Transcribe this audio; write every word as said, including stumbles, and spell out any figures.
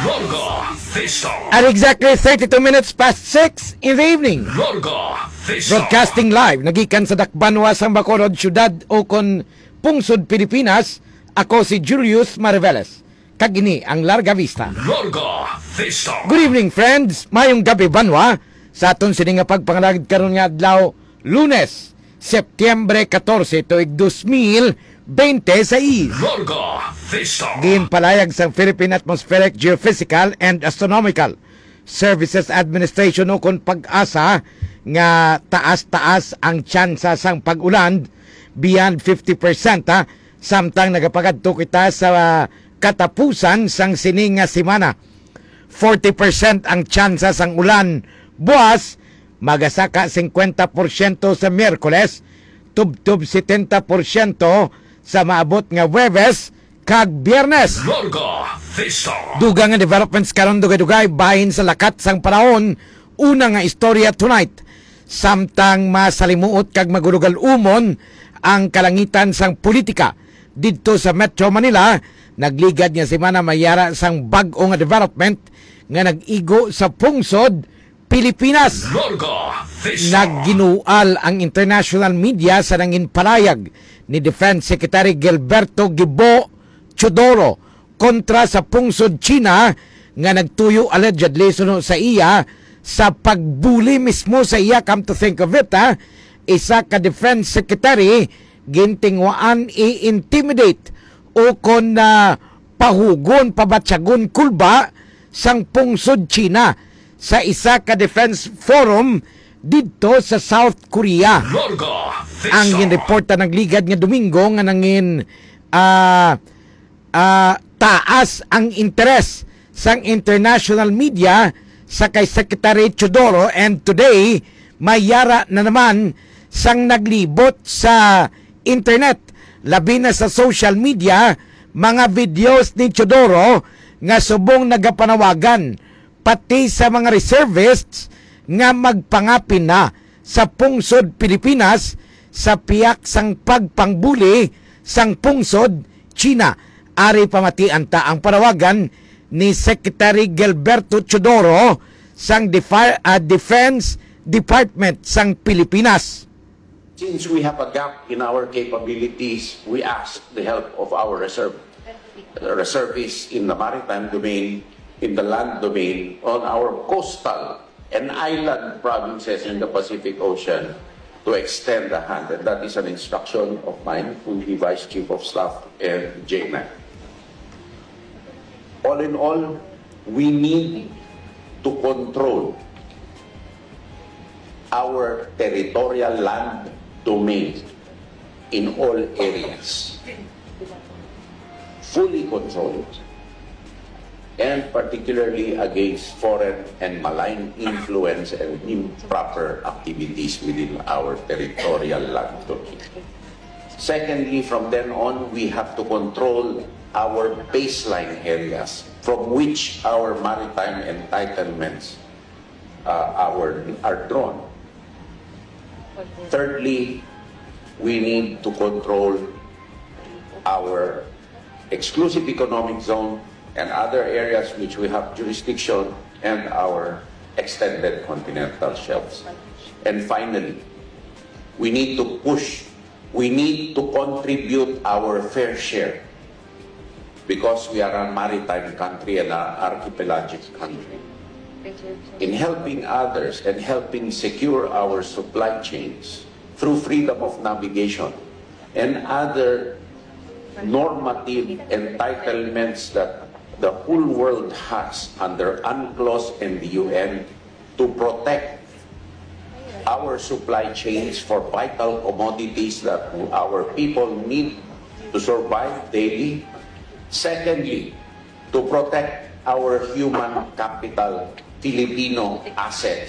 Larga Vista. At exactly thirty-two minutes past six in the evening. Larga Vista. Broadcasting live, nagikan sa Dakbanwa, sang Bacolod, siyudad o kon pungsod Pilipinas. Ako si Julius Mariveles, kag ini ang Larga Vista. Larga Vista. Good evening, friends. Mayong gabi, banwa. Sa aton sini nga pagpangalagad karon nga adlaw, Lunes, Setyembre katorse, tuig dos mil bente seis. Larga Vista. Ginpalayag sang Philippine Atmospheric, Geophysical and Astronomical Services Administration, ukon PAGASA, nga taas-taas ang tsansa sang pag-ulan, beyond fifty percent, ha, samtang nagapagadto kita sa katapusan sang sini nga semana. Forty percent ang tsansa sang ulan buas, magasaka singkwenta porsyento sa Miyerkules, tubtob setenta porsyento sa maabot nga Huwebes kag Biyernes. Larga Vista. Dugang nga developments karon, dugay-dugay bahin sa lakat sang panahon. Una nga istorya tonight, samtang masalimuot kag magurugal-umon ang kalangitan sang politika didto sa Metro Manila, nagligad nga semana may yara sang bag-o nga development nga nag-igo sa pungsod Pilipinas. Larga Vista. Nagginual ang international media sa nanginpalayag ni Defense Secretary Gilberto Gibo Teodoro kontra sa pungsod China nga nagtuyo allegedly suno sa iya sa pagbuli mismo sa iya. Come to think of it, ha, isa ka defense secretary gintinguhaan i-intimidate o kon, ah, pahugon, pabatyagon, kulba sang pungsod China sa isa ka defense forum didto sa South Korea. Larga Vista. Ang ginreporta nagligad nga Domingo nga nangin, ah, ah, taas ang interes sang international media sa kay Secretary Teodoro, and today may yara na naman sang naglibot sa internet, labi na sa social media, mga videos ni Teodoro nga subong nagapanawagan pati sa mga reservists nga magpangapin na sa pungsod Pilipinas sa piyak sang pagpangbuli sang pungsod China. Ari pamatian ta ang panawagan ni Secretary Gilberto Teodoro sang Defi-, ah, Defense Department sang Pilipinas. Since we have a gap in our capabilities, we ask the help of our reserve, reservists in the maritime domain, in the land domain, on our coastal and island provinces in the Pacific Ocean to extend a hand. And that is an instruction of mine to the Vice Chief of Staff and J M F. All in all, we need to control our territorial land domain in all areas. Fully control it. And particularly against foreign and malign influence and improper activities within our territorial land domain. Secondly, from then on, we have to control our baseline areas from which our maritime entitlements, uh, our, are drawn. Thirdly, we need to control our exclusive economic zone and other areas which we have jurisdiction and our extended continental shelves. And finally, we need to push, we need to contribute our fair share because we are a maritime country and an archipelagic country. In helping others and helping secure our supply chains through freedom of navigation and other normative entitlements that the whole world has under UNCLOS and the U N to protect our supply chains for vital commodities that our people need to survive daily. Secondly, to protect our human capital, Filipino assets.